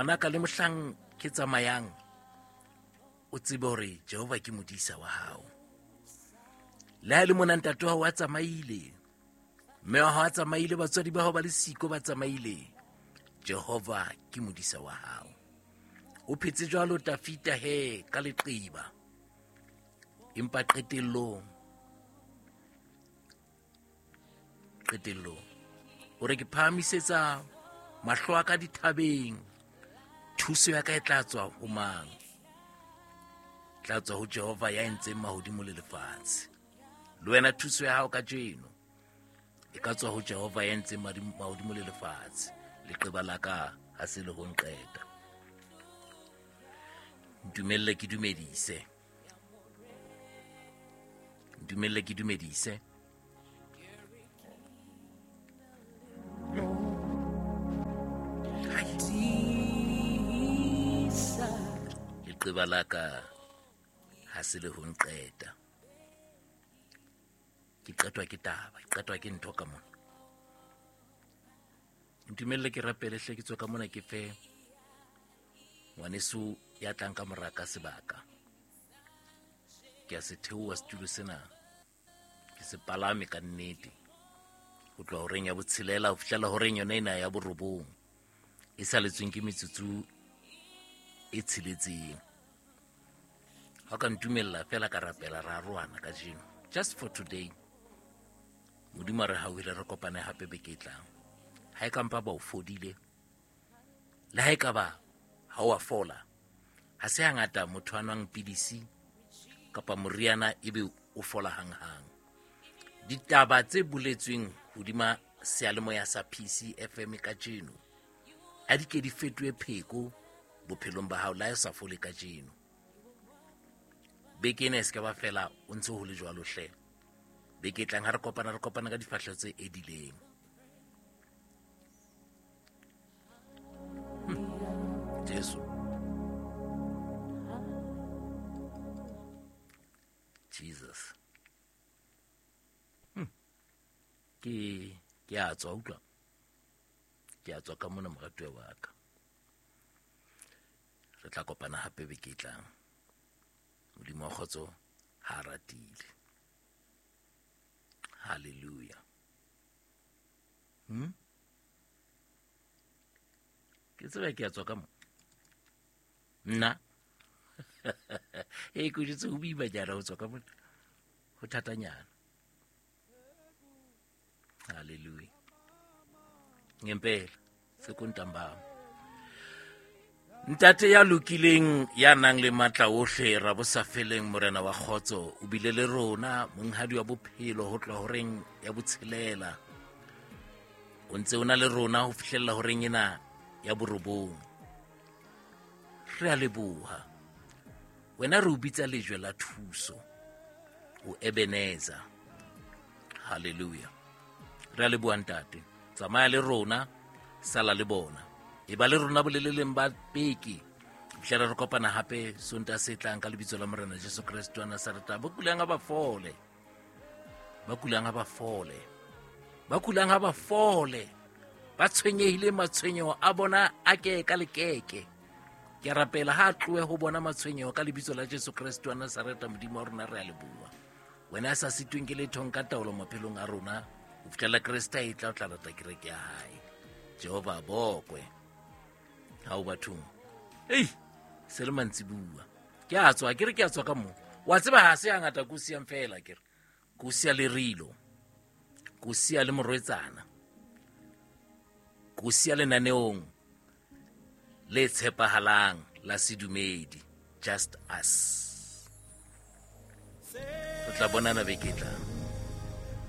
Ngwanaka, le mohlang ke tsamayang, o tsebe hore Jehova ke modisa wa hao. Le ha e le mona ntate wa hao a tsamaile, mme wa hao a tsamaile, batswadi ba hao ba le siko ba tsamaile, Jehova ke modisa wa hao. O phetse jwalo Tafita he ka leqeba, empa qetellong, qetellong o re ke phahamisetsa mahlo a ka dithabeng, thuso ya ka e tla tswa ho mang? Tla tswa ho Jehova ya entseng mahodimo le lefatshe. Le wena thuso ya hao kajeno e ka tswa ho Jehova ya entseng mahodimo le lefatshe. Leqeba la ka ha se le ho nqeta. Ntumelle ke dumedise. Ntumelle ke dumedise. Leqeba la ka ha se le ho nqeta. Ke qetwa ke taba, ke qetwa ke ntho ka mona. Ntumelle ke rapele hle, ke tswe ka mona ke fe ngwaneso ya tlang ka mora ka sebaka. Ke a se theoha setulo sena, ke se palame ka nnete ho tloha horeng ya botshelela ho fihlela horeng yona ena ya borobong e saletsweng ke metsotso e tsheletseng. Ha o ka ntumella fela ka rapela ra arohana kajeno, just for today. Modimo a re hauhele, re kopane hape beke e tlang. Ha e ka mpa ba o fodile, le ha e ka ba ha o a fola, ha se hangata motho a nwang pidisi kapa moriana ebe o fola hanghang. Ditaba tse boletsweng hodima seyalemoya sa PCFM kajeno ha di ke di fetohe pheko bophelong ba hao la e sa fole kajeno. Beke ena e se ka ba fela o ntse ho le jwalo hle. Beke e tlang ha re kopana, re kopana ka difahleho tse edileng. Jesu. Jesus. Ke a tswa, utlwa. Ke a tswa ka mona moratuwa wa ka. Re tla kopana hape beke e tlang. Modimo wa kgotso ha a ratile. Hallelujah. Ke tseba ke a tswa ka mo. Nna. E ko jetse ho boima jana ho tswa ka mona. Ho thatanyana. Hallelujah. Ngempela sekuntambama. Ntate ya lokileng ya nang le matla ohle, ra bo sa feleng, Morena wa kgotso, o bile le rona monghadi wa bophelo ho tloha horeng ya botshelela. O ntse o na le rona ho fihlella horeng ena ya borobong. Re a leboha. Wena re o bitsa lejwe la thuso, o Ebenezer. Hallelujah. Re a leboha ntate. Tsamaya le rona, sala le bona. E ba le rona boleleleng ba beke. Fihlela re kopana hape Sontaha se tlang ka lebitso la Morena Jesu Kreste wa Nazaretha. Ba kulang ha ba fole. Ba kulang ha ba fole. Ba kulang ha ba fole. Ba tshwenyehile matshwenyeho a bona a ke ka lekeke. Ke rapela ha a tlohe ho bona matshwenyeho ka lebitso la Jesu Kreste wa Nazaretha. Modimo wa rona re a leboha. Wena a sa sitweng ke letho nka taolo maphelong a rona ho fihlela Kreste a etla o tla rata kereke ya hae. Jehova a bokwe. Ha o bathong. Ei, se le mantsibuwa. Ke a tswa, ke re ke a tswa ka mo. Wa tseba ha se hangata ko siyang fela ke re. Ko siya le rilo. Ko siya le morwetsana. Ko siya lenaneong le tshepahalang la sedumedi, Just Us. Re tla bonana beke e tlang.